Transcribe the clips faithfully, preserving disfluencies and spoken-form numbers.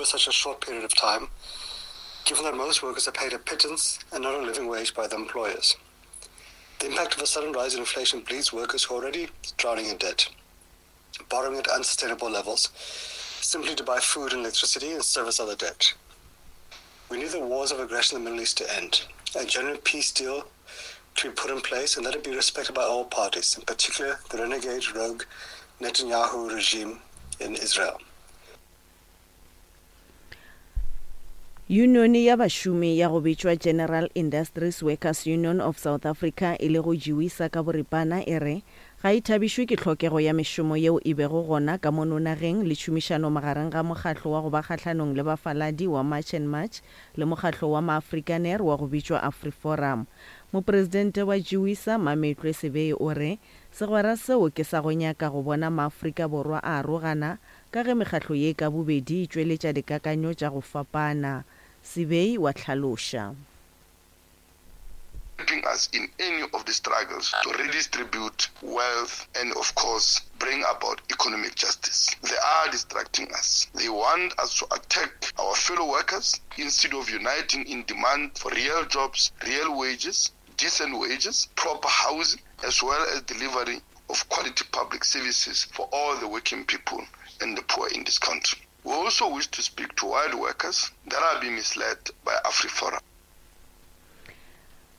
over such a short period of time, given that most workers are paid a pittance and not a living wage by their employers. The impact of a sudden rise in inflation bleeds workers who are already drowning in debt, borrowing at unsustainable levels, simply to buy food and electricity and service other debt. We need the wars of aggression in the Middle East to end, a genuine peace deal to be put in place and let it be respected by all parties, in particular the renegade rogue Netanyahu regime in Israel. Yunione ya bašomi ya go bitšwa General Industries Workers Union of South Africa e lego GIWUSA ka boripana e re ga e thabišwe ke tlhokego ya mešomo yeo e bego gona ka mono nageng le tšhomišano magareng ga mokgatlo wa go ba kgahlanong le bafaladi wa March and March le mokgatlo wa Maafrikaner wa go bitšwa AfriForum. Mopresidente wa GIWUSA Mametlwe Sebei o re segwera seo ke sa go nyaka go bona Maafrika Borwa a arogana ka ge mekgatlo ye ka bobedi e tšweletša dikakanyo tša go fapana. Sebei wa hlaloša. Helping us in any of the struggles to redistribute wealth and, of course, bring about economic justice. They are distracting us. They want us to attack our fellow workers instead of uniting in demand for real jobs, real wages, decent wages, proper housing, as well as delivery of quality public services for all the working people and the poor in this country. We also wish to speak to white workers that are being misled by AfriForum.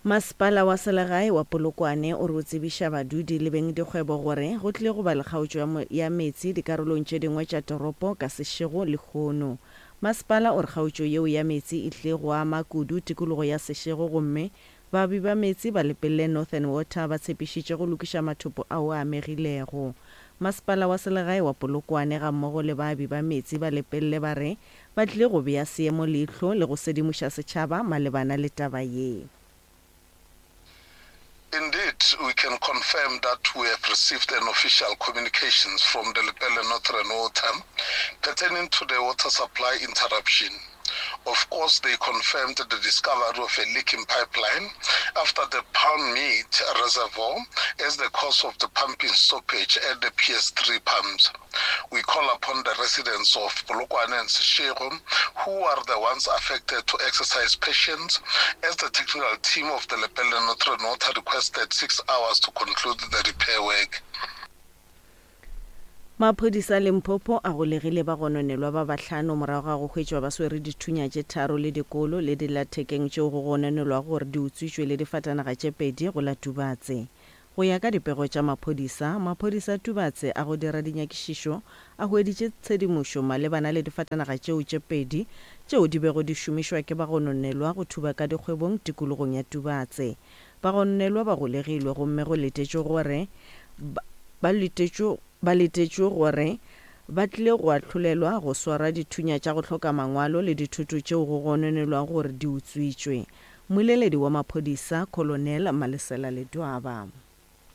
Masepala wa selegae wa Polokwane o re o tsebiša badudi le bengdikgwebo gore go tlile go ba le kgaotšo ya meetse dikarolong tše dingwe tša toropo ka Seshego lehono. Masepala o re kgaotšo yeo ya meetse e tlile go ama kudu tikologo ya Seshego gomme baabi ba meetse ba Lepelle Northern Water ba tshepišitše go lokiša mathopo ao a amegilego. Masepala wa selegae wa Polokwane gammogo le baabi ba meetse ba Lepelle ba re ba tlile go bea seemo leihlo le go sedimoša setšhaba malebana le taba ye. Indeed, we can confirm that we have received an official communications from the Lepelle Northern Water pertaining to the water supply interruption. Of course, they confirmed the discovery of a leaking pipeline after the Palm Mead Reservoir as the cause of the pumping stoppage at the P S three pumps. We call upon the residents of Polokwane and Seshego, who are the ones affected, to exercise patience as the technical team of the Lepelle Northern Water requested six hours to conclude the repair work. Maphodisa a Limpopo a golegile bagononelwa ba bahlano morago ga go hwetšwa ba swere dithunya tše tharo le dikolo le dillathekeng tšeo go gononelwago gore di utswitšwe le difatanaga tše pedi go la Tubatse. Go ya ka dipego tša maphodisa, maphodisa a Tubatse a go dira dinyakišišo a hweditše tshedimošo malebana le difatanaga tšeo tše pedi tšeo di bego di šomišwa ke bagononelwa go thuba ka dikgwebong tikologong ya Tubatse. Bagononelwa ba golegilwe gomme go letetšwe gore ba letetšwe ba letetšwe gore ba tlile go ahlolelwa go swara dithunya tša go hloka mangwalo le dithoto tšeo go gononelwago gore di utswitšwe. Mmoleledi wa maphodisa Colonel Malesela Ledwaba.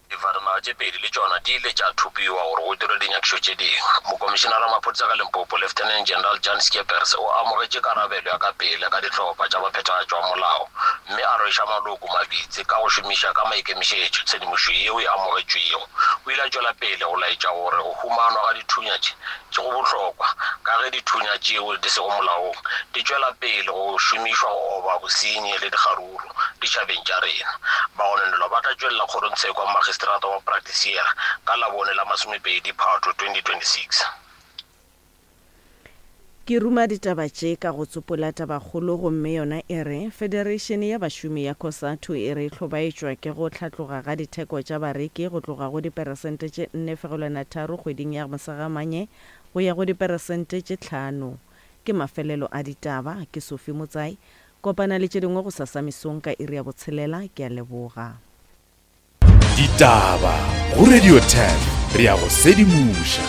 Difatanaga tše pedi le tšona di ile tša thopiwa gore go dirwe dinyakišo tše dingwe. Mokomišenara wa maphodisa ka Limpopo Lieutenant General Jan Skeepers o amogetše karabelo ya ka pele ka dihlopha tša baphethagatši wa molao mme a rweša maloko mabitsi ka go šomiša ka maikemišetšo tshedimošo yeo e amogetšwego. O ile a tšwela pele go laetša gore go humanwa ga dithunya tše tše go bohlokwa ka ge dithunya tšeo di sego molaong di tšwela pele go šomišwa go oba bosenyi le dikgaruru ditšhabeng tša rena. Bagononelwa ba tla tšwelela kgorongtsheko ya magistrata wa Praktiseer ka Labone la masomepedi Phato twenty twenty-six. Ke ruma ditaba tše ka go tsopola tabakgolo gomme yona e re Federation ya bašomi ya COSATU e re hlobaetšwa ke go hlatloga ga ditheko tša bareki go tloga go diperesente tše nne fegelwana tharo kgweding ya Mosegamanye go ya go diperesente tše tlhano. Ke mafelelo a ditaba, ke Sophie Motsai. Kopana le tše dingwe go sasa mesong ka iri ya botshelela. Ke a leboga. Ditaba go Radio ten, re ya go sedimoša.